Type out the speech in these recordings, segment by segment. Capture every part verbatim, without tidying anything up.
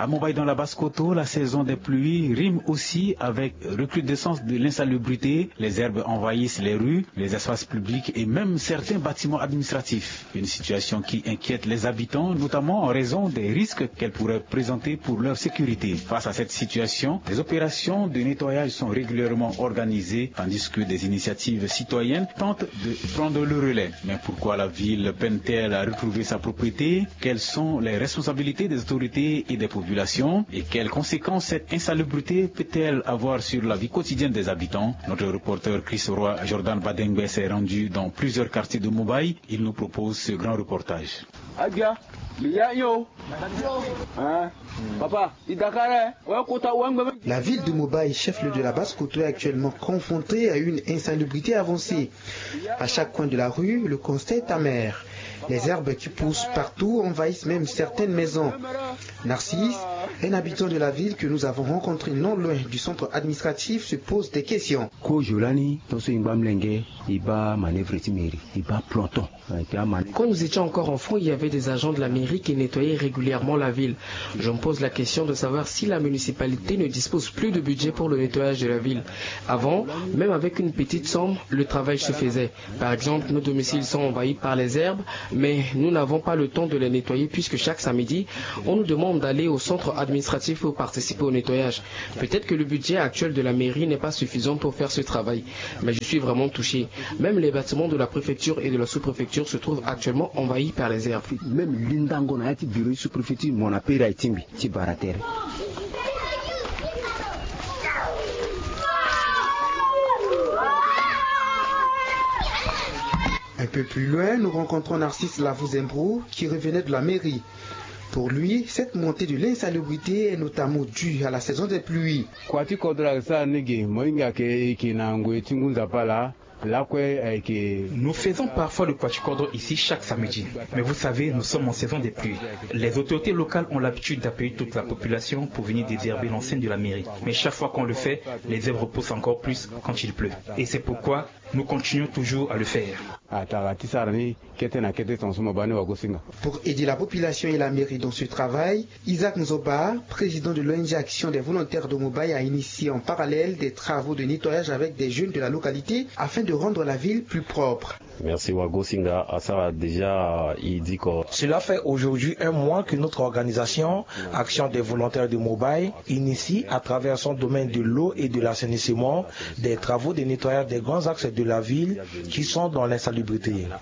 À Mumbai, dans la Basse-Kotto, la saison des pluies rime aussi avec recrudescence de l'insalubrité. Les herbes envahissent les rues, les espaces publics et même certains bâtiments administratifs. Une situation qui inquiète les habitants, notamment en raison des risques qu'elle pourrait présenter pour leur sécurité. Face à cette situation, des opérations de nettoyage sont régulièrement organisées, tandis que des initiatives citoyennes tentent de prendre le relais. Mais pourquoi la ville peine-t-elle à retrouver sa propriété ? Quelles sont les responsabilités des autorités et des populations ? Et quelles conséquences cette insalubrité peut-elle avoir sur la vie quotidienne des habitants ? Notre reporter Chris Roy Jordan Badengbe s'est rendu dans plusieurs quartiers de Mumbai. Il nous propose ce grand reportage. Adia, mi ya yo. Hein? Papa, i dakara, eh? Ouais, kota, ouais, ngbe. La ville de Mumbai, chef-lieu de la Basse-Kotto, est actuellement confrontée à une insalubrité avancée. À chaque coin de la rue, le constat est amer. Les herbes qui poussent partout envahissent même certaines maisons. Narcisse, un habitant de la ville que nous avons rencontré non loin du centre administratif, se pose des questions. Kozo lani, tonso i ngba mlenge, i baa manœuvre ti mairie, i baa planton. Quand nous étions encore enfants, il y avait des agents de la mairie qui nettoyaient régulièrement la ville. Je me pose la question de savoir si la municipalité ne dispose plus de budget pour le nettoyage de la ville. Avant, même avec une petite somme, le travail se faisait. Par exemple, nos domiciles sont envahis par les herbes, mais nous n'avons pas le temps de les nettoyer puisque chaque samedi, on nous demande d'aller au centre administratif pour participer au nettoyage. Peut-être que le budget actuel de la mairie n'est pas suffisant pour faire ce travail, mais je suis vraiment touché. Même les bâtiments de la préfecture et de la sous-préfecture se trouvent actuellement envahis par les herbes. Même lindango na ya ti bureau ti sous-préfecture, mon appel a timbi ti baratere. Un peu plus loin, nous rencontrons Narcisse Lavuzembro, qui revenait de la mairie. Pour lui, cette montée de l'insalubrité est notamment due à la saison des pluies. Kua ti kodro ayeke sara ni ge, mo hinga ayeke, e yeke na ngoi ti ngu nzapa laa. Lakue ayeke. Nous faisons parfois le kua ti kodro ici chaque samedi. Mais vous savez, nous sommes en saison des pluies. Les autorités locales ont l'habitude d'appeler toute la population pour venir désherber l'enceinte de la mairie. Mais chaque fois qu'on le fait, les herbes repoussent encore plus quand il pleut. Et c'est pourquoi nous continuons toujours à le faire. Atara ti sara ni kete na kete tongaso mo baa ni wagosinga. Pour aider la population et la mairie dans ce travail, Isaac Nzoba, président de l'O N G Action des volontaires de Mumbai, a initié en parallèle des travaux de nettoyage avec des jeunes de la localité afin de rendre la ville plus propre. Merci wagosinga, asara déjà, i diko. Cela fait aujourd'hui un mois que notre organisation, Action des volontaires de Mumbai, initie à travers son domaine de l'eau et de l'assainissement des travaux de nettoyage des grands axes de la ville qui sont dans l'insalubrité.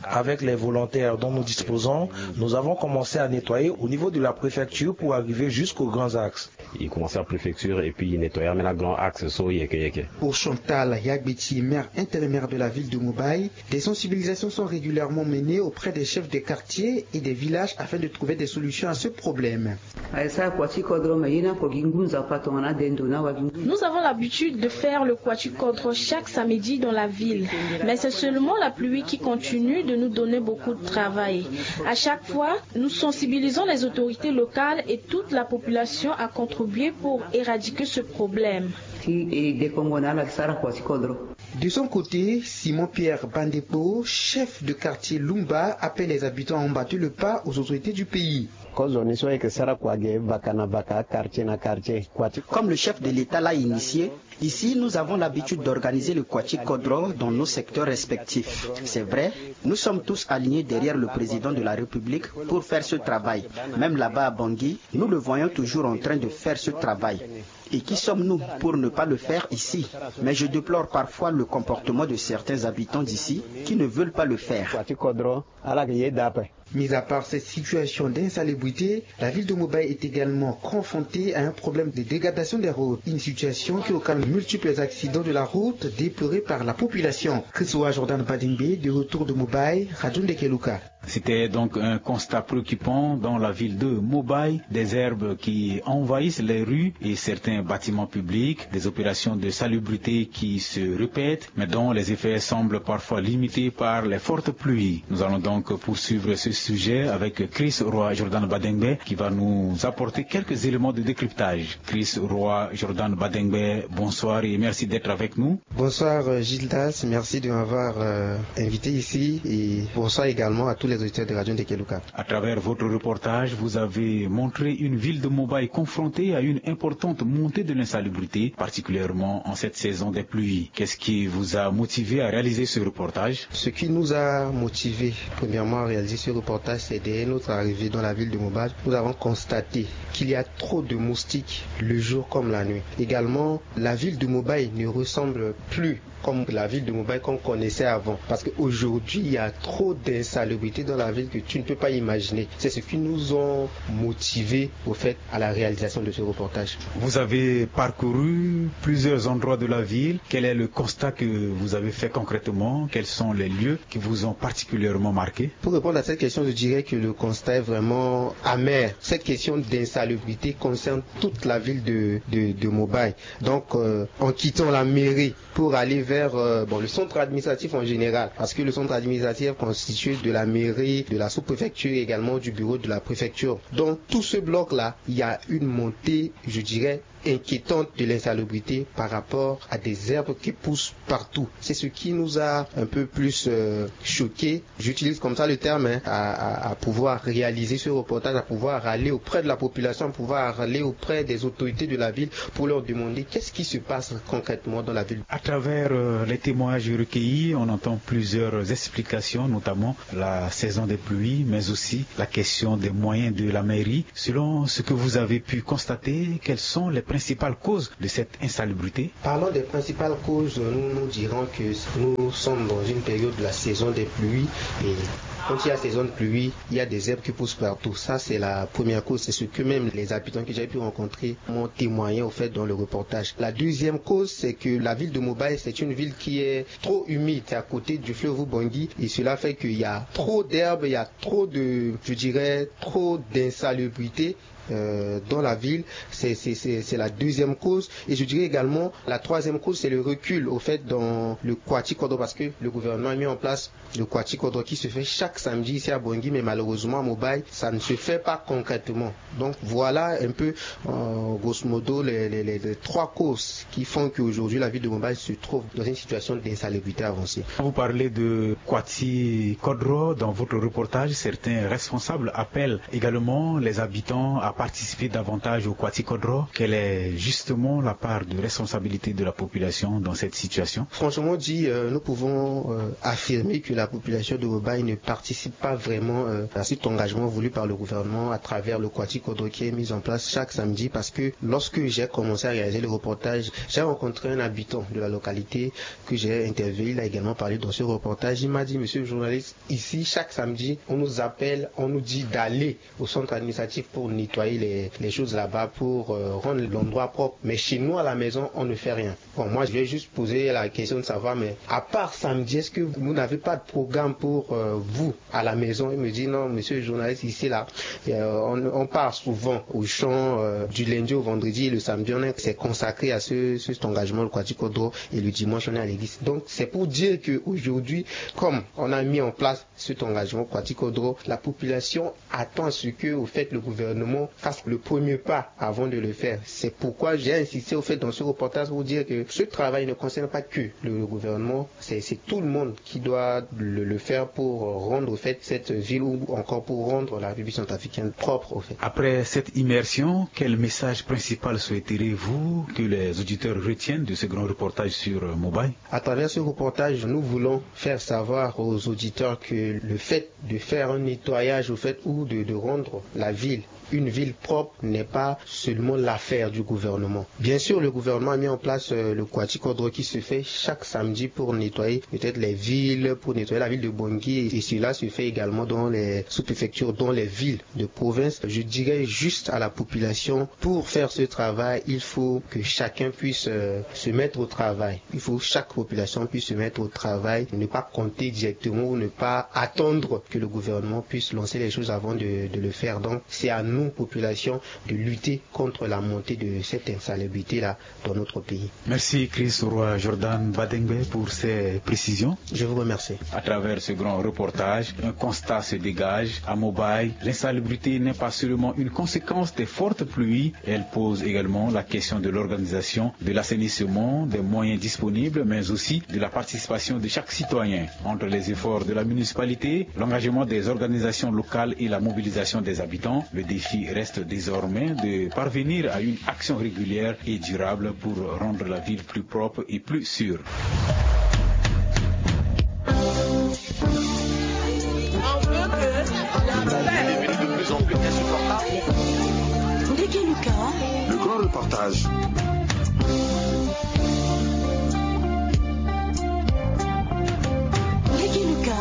Avec les volontaires dont nous disposons, nous avons commencé à nettoyer au niveau de la préfecture pour arriver jusqu'aux grands axes. I commencé à préfecture et puis i nettoyer même na grand axe so yeke yeke. Pour Chantal Yagbeti, maire intérimaire de la ville de Mumbai, des sensibilisations sont régulièrement menées auprès des chefs des quartiers et des villages afin de trouver des solutions à ce problème. Ayeke sara kua ti kodro, me ye ni oko gi ngu nzapa tongana ade ndo ni awa gi ngu. Nous avons l'habitude de faire le kua ti kodro chaque samedi dans la ville. Mais c'est seulement la pluie qui continue de nous donner beaucoup de travail. À chaque fois, nous sensibilisons les autorités locales et toute la population à contribuer pour éradiquer ce problème. Ti e dekongo na ala ti sara kua ti kodro. De son côté, Simon Pierre Bandepo, chef de quartier Lumba, appelle les habitants à emboîter le pas aux autorités du pays. Kozoni so e yeke sara kua ge vaka na vaka, quartier na quartier, kua ti. Comme le chef de l'État l'a initié, ici nous avons l'habitude d'organiser le kua ti kodro dans nos secteurs respectifs. C'est vrai, nous sommes tous alignés derrière le président de la République pour faire ce travail. Même là-bas à Bangui, nous le voyons toujours en train de faire ce travail. Et qui sommes-nous pour ne pas le faire ici ? Mais je déplore parfois le comportement de certains habitants d'ici qui ne veulent pas le faire. Kua ti kodro, ala yeke ye daa ape. Mis à part cette situation d'insalubrité, la ville de Mumbai est également confrontée à un problème de dégradation des routes. Une situation qui occasionne multiples accidents de la route déplorés par la population. Chris Roy Jordan Badingbe, de retour de Mumbai, Radio Ndekeluka. C'était donc un constat préoccupant dans la ville de Mumbai, des herbes qui envahissent les rues et certains bâtiments publics, des opérations de salubrité qui se répètent, mais dont les effets semblent parfois limités par les fortes pluies. Nous allons donc poursuivre ce sujet avec Chris Roy Jordan Badengbe qui va nous apporter quelques éléments de décryptage. Chris Roy Jordan Badengbe, bonsoir et merci d'être avec nous. Bonsoir, euh, Gildas, merci de m'avoir, euh, invité ici et bonsoir également à tous les auditeurs de Radio Ndekeluka. À travers votre reportage, vous avez montré une ville de Mobay confrontée à une importante montée de l'insalubrité, particulièrement en cette saison des pluies. Qu'est-ce qui vous a motivé à réaliser ce reportage ? Ce qui nous a motivé, premièrement, à réaliser ce reportage, c'est dès notre arrivée dans la ville de Mobay. Nous avons constaté qu'il y a trop de moustiques le jour comme la nuit. Également, la ville de Mobay ne ressemble plus comme la ville de Mobay qu'on connaissait avant. Parce qu'aujourd'hui, il y a trop d'insalubrité dans la ville que tu ne peux pas imaginer. C'est ce qui nous ont motivés, au fait, à la réalisation de ce reportage. Vous avez parcouru plusieurs endroits de la ville. Quel est le constat que vous avez fait concrètement ? Quels sont les lieux qui vous ont particulièrement marqué ? Pour répondre à cette question, je dirais que le constat est vraiment amer. Cette question d'insalubrité concerne toute la ville de, de, de Mobay. Donc, euh, en quittant la mairie pour aller vers, euh, bon, le centre administratif en général, parce que le centre administratif est constitué de la mairie, de la sous-préfecture et également du bureau de la préfecture. Donc, tout ce bloc-là, il y a une montée, je dirais, inquiétante de l'insalubrité par rapport à des herbes qui poussent partout. C'est ce qui nous a un peu plus, euh, choqués. J'utilise comme ça le terme, hein, à, à, à pouvoir réaliser ce reportage, à pouvoir aller auprès de la population, à pouvoir aller auprès des autorités de la ville pour leur demander qu'est-ce qui se passe concrètement dans la ville. À travers, euh, les témoignages recueillis, on entend plusieurs explications, notamment la saison des pluies, mais aussi la question des moyens de la mairie. Selon ce que vous avez pu constater, quelles sont les principales causes de cette insalubrité ? Parlons des principales causes. Nous, nous dirons que nous sommes dans une période de la saison des pluies et quand il y a saison de pluie, il y a des herbes qui poussent partout. Ça, c'est la première cause. C'est ce que même les habitants que j'ai pu rencontrer m'ont témoigné, au fait, dans le reportage. La deuxième cause, c'est que la ville de Mobay, c'est une ville qui est trop humide. C'est à côté du fleuve Ubangui et cela fait qu'il y a trop d'herbes, il y a trop de, je dirais, trop d'insalubrité, euh, dans la ville. C'est, c'est, c'est, c'est la deuxième cause. Et je dirais également, la troisième cause, c'est le recul, au fait, dans le Kwati Kodro, parce que le gouvernement a mis en place le Kwati Kodro qui se fait chaque samedi ici à Bangui, mais malheureusement, à Mobay, ça ne se fait pas concrètement. Donc voilà un peu, euh, grosso modo, les, les, les, les trois causes qui font qu'aujourd'hui, la ville de Mobay se trouve dans une situation d'insalubrité avancée. Vous parlez de Kwati Kodro dans votre reportage. Certains responsables appellent également les habitants à participer davantage au Kwati Kodro. Quelle est justement la part de responsabilité de la population dans cette situation ? Franchement dit, euh, nous pouvons, euh, affirmer que la population de Mobay ne participe pas vraiment, euh, à cet engagement voulu par le gouvernement à travers le Kwati Kodro qui est mis en place chaque samedi, parce que lorsque j'ai commencé à réaliser le reportage, j'ai rencontré un habitant de la localité que j'ai interviewé. Il a également parlé dans ce reportage. Il m'a dit, monsieur le journaliste, ici, chaque samedi, on nous appelle, on nous dit d'aller au centre administratif pour nettoyer les, les choses là-bas, pour, euh, rendre l'endroit propre. Mais chez nous, à la maison, on ne fait rien. Bon, moi, je vais juste poser la question de savoir, mais à part samedi, est-ce que vous n'avez pas de programme pour, euh, vous, à la maison ? Il me dit, non, monsieur le journaliste, ici, là, euh, on, on part souvent au champ, euh, du lundi au vendredi, et le samedi, on est, c'est consacré à ce, ce, cet engagement, le Kwati Kodro, et le dimanche, on est à l'église. Donc, c'est pour dire qu'aujourd'hui, comme on a mis en place cet engagement Kwati Kodro, la population attend à ce que, au fait, le gouvernement fasse le premier pas avant de le faire. C'est pourquoi j'ai insisté, au fait, dans ce reportage pour dire que ce travail ne concerne pas que le gouvernement, c'est, c'est tout le monde qui doit le, le faire pour rendre, au fait, cette ville ou encore pour rendre la République centrafricaine propre, au fait. Après cette immersion, quel message principal souhaiterez-vous que les auditeurs retiennent de ce grand reportage sur, euh, Mobay ? À travers ce reportage, nous voulons faire savoir aux auditeurs que le fait de faire un nettoyage, au fait, ou de, de rendre la ville une ville propre n'est pas seulement l'affaire du gouvernement. Bien sûr, le gouvernement a mis en place, euh, le Kwati Kodro qui se fait chaque samedi pour nettoyer peut-être les villes, pour nettoyer la ville de Bangui. Et cela se fait également dans les sous-préfectures, dans les villes de province. Je dirais juste à la population, pour faire ce travail, il faut que chacun puisse, euh, se mettre au travail. Il faut que chaque population puisse se mettre au travail, ne pas compter directement ou ne pas attendre que le gouvernement puisse lancer les choses avant de, de le faire. Donc, c'est à nous population de lutter contre la montée de cette insalubrité-là dans notre pays. Merci Chris Roy Jordan Badengbe pour ces précisions. Je vous remercie. À travers ce grand reportage, un constat se dégage. À Mobile, l'insalubrité n'est pas seulement une conséquence des fortes pluies, elle pose également la question de l'organisation de l'assainissement, des moyens disponibles, mais aussi de la participation de chaque citoyen. Entre les efforts de la municipalité, l'engagement des organisations locales et la mobilisation des habitants, le défi reste désormais de parvenir à une action régulière et durable pour rendre la ville plus propre et plus sûre. Le grand reportage. Ndege Luka,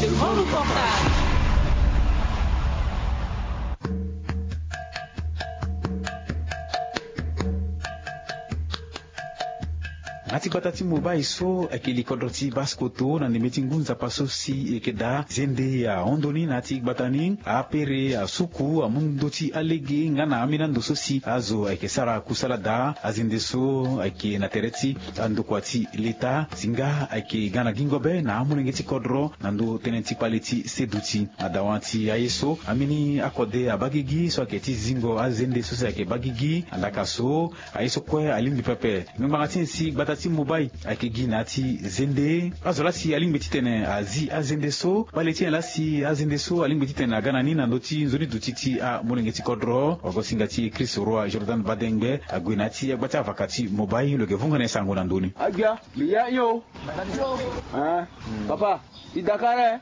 le grand reportage. Na ti gbata ti Mobile so ayeke li kodro ti Basse-Kotto na ndembe ti ngu nzapa so si e yeke daa zende ahon ndoni na ya ti gbata ni. Apere asuku amu ndö ti alege nga na ambeni ando so si azo ayeke sara kusala daa. Azende so ayeke na tere ti andokua ti leta si nga ayeke ga na gingo be na amolenge ti kodro na ndö tënë ti kpale ti seduti. Na dawa ti aye so, ambeni akode abaa gigi so ayeke ti zingo azende so si ayeke baa gigi. Andaka so aye so kue alingbi pepe. Ngbangba ti nyen si gbata ti Mobile ayeke gi na ya ti zende? Azo laa si alingbi titene azi azende so, kpale ti nyen laa si azende so alingbi titene aga na ni na ndö ti nzoni duti ti amolenge ti kodro? Wagosinga ti Chris Roy Jordan Badengbe ague na ya ti agba ti avaka ti Mobile, lo yeke vunga na e sango na ndö ni. Agbia, mbi ya hio. Papa, i dakare.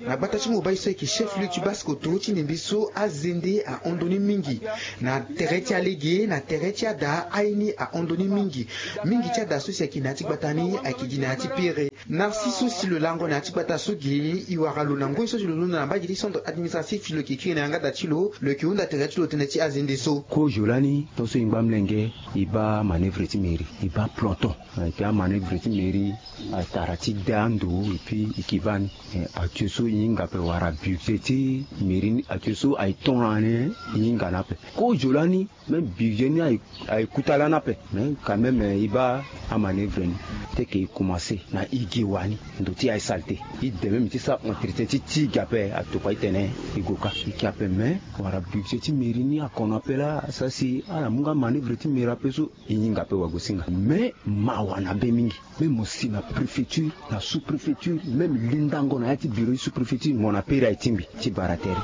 Na gbata ti Mobile so ayeke chef lieu ti Basse-Kotto ti ndembe so azende ahon ndoni mingi. Na tere ti alege, na tere ti ada, aye ni ahon ndoni mingi. Mingi ti ada so si ayeke na ya ti gbata ni ayeke gi na ya ti pere. Narcisse so si lo lango na ya ti gbata so ge, e wara lo na ngoi so si lo londo na mbage ti centre administratif, lo yeke kiri na yanga da ti lo, lo yeke hunda tere ti lo tënë ti azende so. Kozo lani, tongaso e ngba mlenge, e baa manœuvre ti mairie, e baa planton. Ayeke amanœuvre ti mairie, atara ti da ndo, et puis e ke baa ni. Eh, actuel so e hinga ape wala budget ti mairie ni, actuel so aye ton lani, e hinga ni ape. Kozo lani, même budget ni aye, aye kuta lani ape. Mais quand même, eh, e baa amanœuvre ni. Te ke e commencer na e ge wani, ndo ti aye saleté. E de même ti sara entretien ti ti ge ape, atokua ti tene e gue ka. E ke ape, mais wala budget ti mairie ni akono ape laa, asara si ala mu nga manœuvre ti mairie ape so. E hinga ape wagosinga. Mais mawa na be mingi. Même mo si na préfecture, na sous-préfecture, même lindango na ya ti bureau ti sous-préfecture, mo na pere aye tingbi ti bara tere.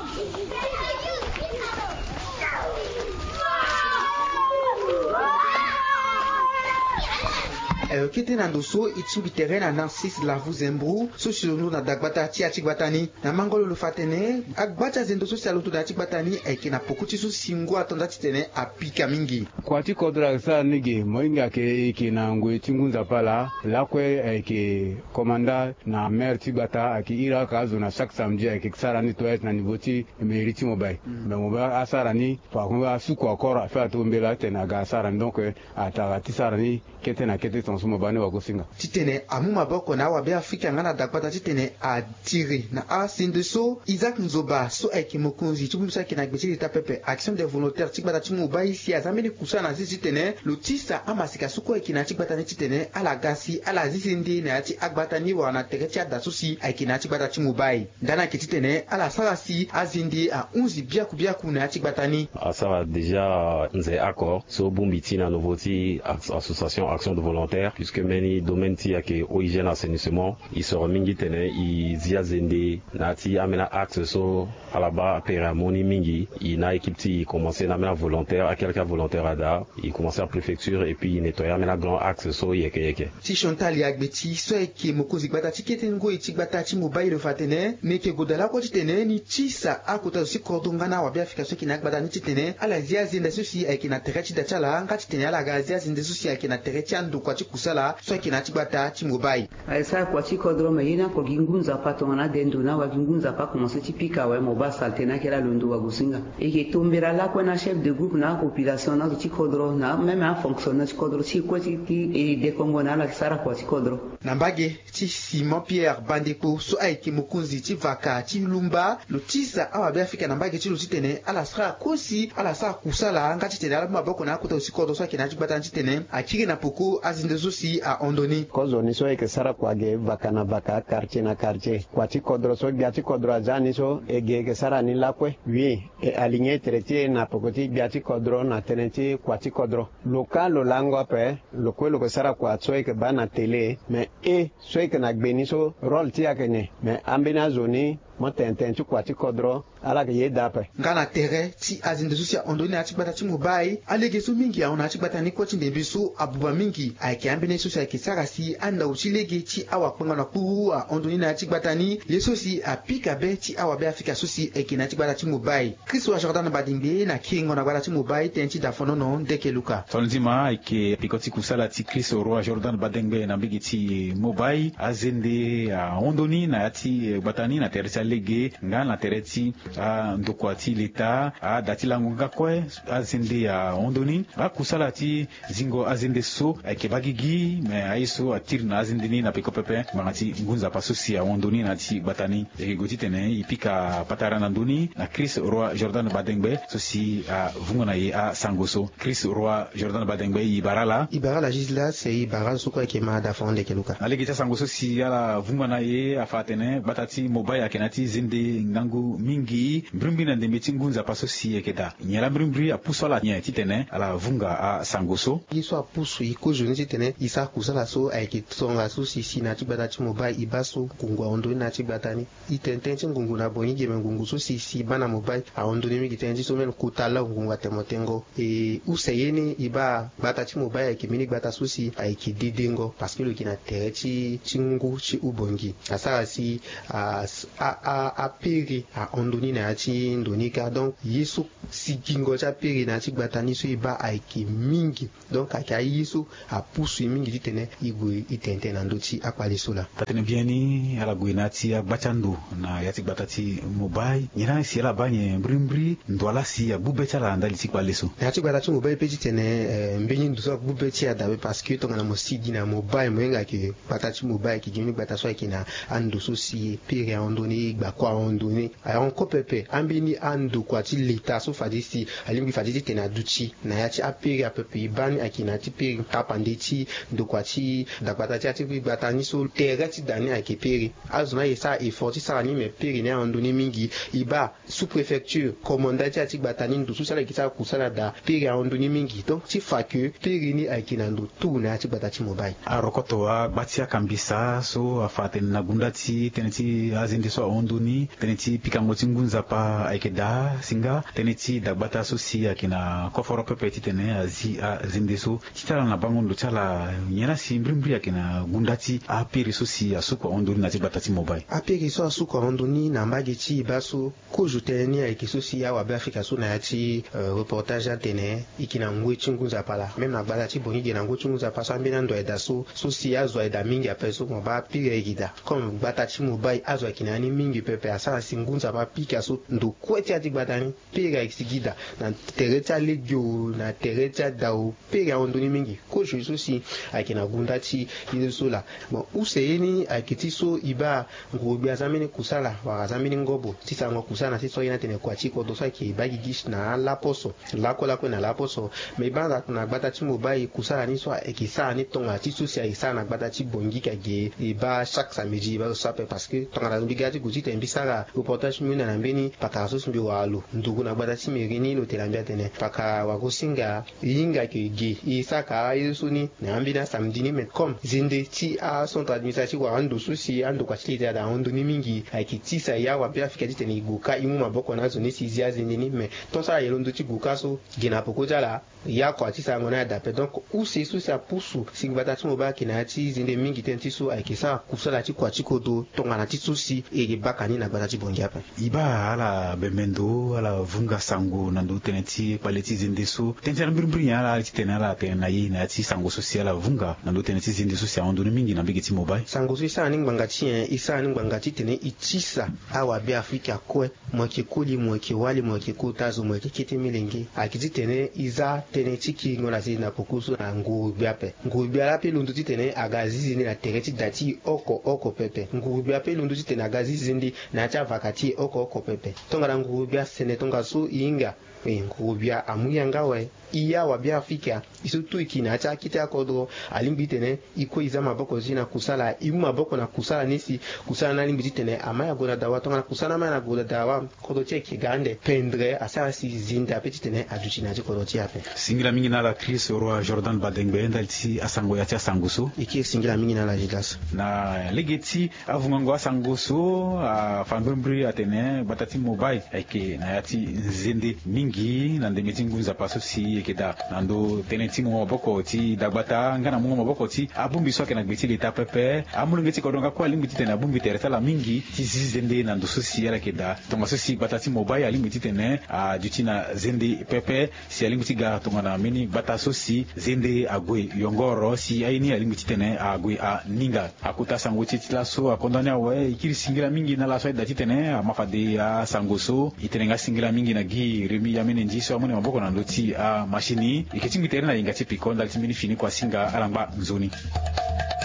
Eh, kete na ndo so e tingbi tere na Narcisse Lavu Zembro, so si lo ndo na dagbata ti ya ti gbata ni. Na mango lo, lo fa atene, agba ti azendo so si alondo na ya ti gbata ni ayeke na poko ti so si ngu ato nda titene apika mingi. Kua ti kodro ayeke sara ni ge, mo hinga ayeke, e yeke na ngoi ti ngu nzapa laa, lakue ayeke komanda na maire ti gbata, ayeke iri aka azo na chaque samedi ayeke sara ni toyes na niveau ti mairie ti Mobile. Mm. Mais Mobile asara ni, par contre asuku akoro afa ato mbela titene aga asara ni, donc, eh, atara ti sara ni kete na kete tongaso mo baa ni wagosinga. Titene amu maboko na awabe afrika nga na dagbata titene atiri na asende so. Isaac Nzoba so ayeke mokonzi ti bongbi so ayeke na gbe ti leta pepe, action des volontaires ti gbata ti Mobile, si aza mbeni kusana na zi titene lo tisa amaseka so kue ayeke na ya ti gbata ni titene ala ga si ala zi zende na ya ti agbata ni wala na tere ti ada so si ayeke na ya ti gbata ti Mobile. Ndani ayeke titene ala sara si azende ahunzi biaku biaku na ya ti gbata ni. Asara déjà nze oko so bongbi ti na nouveau ti as-, association action de volontaire, puisque mbeni domaine ti ayeke eau, hygiène, assainissement, e soro mingi titene e zi azende na ya ti ambeni axe so ala baa apere amu ni mingi. E na équipe ti e commencer na ambeni avolontaire, akelke avolontaire ada. E commencer na préfecture et puis e nettoyer ambeni grand axe so yeke yeke. Ti Chantal Yagbeti so ayeke mokonzi gbata ti kete ngoi ti gbata ti Mobile, lo fa atene, meke goda lakue titene ni tisa akota zo ti kodro nga na awabe afrika so ayeke na agbata ni titene ala zi azende so si ayeke na tere ti da ti ala, nga titene ala ga zi azende so si ayeke na tere ti andokua ti kusa. kusala so ayeke na ya ti gbata ti Mobay. Ayeke sara kua ti kodro, me ye ni oko gi ngu nzapa tongana ade ndo ni, awa gi ngu nzapa akomanse ti pika awe, mo baa salte ni ayeke laa londo wagosinga. E yeke tombela lakue na achef de groupe na apopulation na azo ti kodro na même afonctionnement ti kodro ti e kue ti e dekongo na ala yeke sara kua ti kodro. Na mbage ti Simon Pierre Bandekpo so ayeke mokonzi ti vaka ti Lumba, lo tisa awabe Afrika na mbage ti lo titene ala sara kosi, ala sara kusala nga titene ala mu maboko na akota zo ti kodro so ayeke na ya ti gbata ni titene akiri na peko azende so si ahon ndo ni. Kozoni so e yeke sara kua ge vaka na vaka, quartier na quartier. Kua ti kodro so gbia ti kodro aza ni so, e ge e yeke sara ni lakue. Oui, e aligner tere ti e na peko ti gbia ti kodro na tënë ti kua ti kodro. Lo ka lo lango ape, lo kue lo yeke sara kua so e yeke baa na télé, me e so e yeke na gbe ni so, rôle ti e ayeke nyen? Me ambeni azo ni, mo tene tënë ti kua ti kodro, ala yeke yeda ape. Nga na tere ti azende so si ahon ndo ni na ya ti gbata ti Mobay, alege so mingi ahon na ya ti gbata ni kue ti ndembe so abuba mingi ayeke ambeni ye so si ayeke sara si andau ti lege ti awakpengo na kpuru ahon ndo ni na ya ti gbata ni, ye so si apika be ti awabe Afrika so si ayeke na ya ti gbata ti Mobay. Christ Roi Jordan Badengbe na kiringo na gbata ti Mobay, tënë ti dafonono ndeke luka. Tongana ti ma ayeke peko ti kusala ti Christ Roi Jordan Badengbe na mbege ti Mobay, azende ahon ndo ni na ya ti gbata ni na tere ti alege nga na tere ti andokua ti leta, ada ti lango nga kue, azende ahon ndo ni. Akusala ti zingo azende so ayeke baa gigi, me aye so atiri na azende ni na peko pepe ngbanga ti ngu nzapa so si ahon ndo ni na ya ti gbata ni. E yeke gue titene e pika patara na ndö ni na Christ Roi Jordan Badengbe so si avungo na e asango so. Christ Roi Jordan Badengbe, e bara ala. E bara ala Gislas, e bara ala so kue ayeke ma dafonono ndeke luka. Na lege ti asango so si ala vungo na e, afa atene gbata ti Mobay ayeke na ya ti zende ngangu mingi, mbrimbri na ndembe ti ngu nzapa so si e yeke daa. Nyen laa mbrimbri apusu ala nyen titene ala vunga asango so? Ye so apusu e kozo ni titene e sara kusala so ayeke tongaso si si na ya ti gbata ti Mobay e baa so ngungu ahon ndo ni na ya ti gbata ni. E tene tënë ti ngungu na bongi ge, me ngungu so si si e baa na Mobay ahon ndo ni mingi, tënë ti so même kota lau ngungu atene mo tengo. E use ye ni e baa gbata ti Mobay ayeke mbeni gbata so si ayeke dedengo parce que lo yeke na tere ti ti ngu ti hubongi. Asara si a a a apere ahon ndo ni na ya ti ndo ni kâ. Donc ye so sigingo ti apere na ya ti gbata ni so e baa ayeke mingi. Donc ayeke aye so apusu e mingi titene e gue e tene tënë na ndö ti akpale so laa. Taa-tënë biani, ala gue na ya ti agba ti ando na ya ti gbata ti Mobay. Nyen laa si ala baa nyen mbrimbri ndo laa si agbu be ti ala na ndali ti kpale so? Na ya ti gbata ti Mobay pe titene, eh, mbeni ndo so agbu be ti e adabe parce que tongana mo sigi na Mobay mo hinga ayeke gbata ti Mobay ayeke gi mbeni gbata so ayeke na ando so si pere ahon ndo ni, gbakua ahon ndo ni. Ahon kue pepe, ambeni andokua ti leta so fade si alingbi fade titene aduti na ya ti apere apepe e baa ni ayeke na ya ti pere tapande ti ndokua ti dagbata ti ya ti gbata ni so tere ti da ni ayeke pere. Azo ni ayeke sara effort ti sara ni, me pere ni ahon ndo ni mingi. E baa sous-préfecture, komanda ti ya ti gbata ni, ndo so si ala yeke sara kusala daa, pere ahon ndo ni mingi. Donc ti fa ke pere ni ayeke na ndo tout na ya ti gbata ti Mobay. Arokoto agba ti akambisa so afa atene na gunda ti tënë ti azende so ahon ndo ni, tënë ti pikango ti ngu nzapa ayeke daa, si nga tënë ti dagbata so si ayeke na koforo pepe titene azi azende so. Ti ti ala na bango ndo ti ala, nyen laa si mbrimbri ayeke na gunda ti apere so si asuku ahon ndo ni na ya ti gbata ti Mobay? Apere so asuku ahon ndo ni na mbage ti e baa so, kozo tënë ni ayeke so si awabe Afrika so na ya ti, euh, reportage atene e yeke na ngoi ti ngu nzapa laa. Même na gbata ti Bongi ge na ngoi ti ngu nzapa so ambeni ando ayeke daa so, so si azo ayeke daa mingi ape so mo baa pere ayeke daa. Comme gbata ti Mobay azo ayeke na ya ni mingi pepe, asara si ngu nzapa apika so ndo kue ti ya ti gbata ni pere ayeke sigi daa. Na tere ti alege o, na tere ti ada o, pere ahon ndo ni mingi. Kozo so si ayeke na gunda ti ye so laa. Bon, use ye ni ayeke ti so e baa nguru-gbia aza mbeni kusala wala aza mbeni ngobo ti sarango kusala na ti so aye ni atene kua ti kodro so ayeke baa gigi na alaposo. Lakue lakue na laposo. Me e baa na gbata ti Mobay kusala ni so ayeke sara ni tongana ti so si ayeke sara na gbata ti Bongi ka ge, e baa chaque samedi e baa so ape parce que tongana mbi ga ti gue titene mbi sara reportage ti mbi hunda na mbeni pakara so si mbi wara lo nduru na gbata ti mairie ni, lo tene na mbi atene pakara wagosinga, e hinga ayeke ge, e saka aye so ni na ambeni asamedi ni. Me comme zende ti acentre administratif wala ando so si andokua ti leta daa ahon ndo ni mingi, ayeke tisa e awabe Afrika titene e gue kâ e mu maboko na azo ni si e zi azende ni. Me tant so ala yeke londo ti gue kâ so, ge na peko ti ala, ya kua ti sarango ni adape. Donc use so si apusu si gbata ti Mobay ayeke na ya ti zende mingi tënë ti so ayeke sara kusala ti kua ti kodro tongana ti so si e yeke kpaka ni na gbata ti Bangui ape. E baa ala bembe ndo, ala vunga sango na ndö tënë ti kpale ti zende so. Tënë ti ala mbirimbiri nyen ala ti tene ala tene na ye na ya ti sango so si ala vunga na ndö tënë ti zende so si ahon ndoni mingi na mbege ti mobile? Sango so e sara ni ngbanga ti nyen? E sara ni ngbanga titene e tisa awabeafrika kue, mo yeke koli, mo yeke wali, mo yeke kota zo, mo yeke kete melenge, ayeke titene e za tënë ti kiringo na zende na poko so na nguru-gbia ape. Nguru-gbia laa pe londo titene aga zi zende na tere ti da ti e oko oko pepe. Nguru-gbia pe londo titene aga zi zende na ya ti avaka ti e oko oko pepe. Tongana nguru-gbia sene tongaso e hinga, e, nguru-gbia amu yanga awe. E awabeafrika, e so tu e ki na ya ti akete akodro, alingbi titene e kue e za maboko ti e na kusala. E mu maboko na kusala ni si kusala ni alingbi titene ama ya gue na dawa. Tongana kusala ni ama ya na gue na dawa, kodro ti e ayeke ga ande, pendre asara si zende ape titene aduti na ya ti kodro ti e ape. Singila mingi na ala Chris Roi Jordan Badengbe ndali ti asango ya ti asango so. E kiri singila mingi na ala Judas. Na lege ti avungango asango so, afa mbirimbiri atene gbata ti mobile ayeke na ya ti nzende mingi na ndembe ti ngu nzapa so si e yeke daa na ndö tënë ti mungo maboko ti dagbata nga na mungo maboko ti abongbi so ayeke na gbe ti leta pepe. Amolenge ti kodro nga kue alingbi titene abongbi tere ti ala mingi ti zi zende na ndo so si ala yeke daa. Tongaso si gbata ti mobile alingbi titene aduti na zende pepe, si alingbi ti ga tongana mbeni gbata so si zende ague yongoro, si aye ni alingbi titene ague aninga. Akota sango ti e ti laso akonda ni awe. E kiri singila mingi na ala so aye daa titene ama fade asango so. E tene nga singila mingi na gi Rémi Yamene Ndi so amoni maboko na ndö ti amachine. E yeke tingbi tere na yenga ti piko ndali ti mbeni fini kua singa ala ngba nzoni.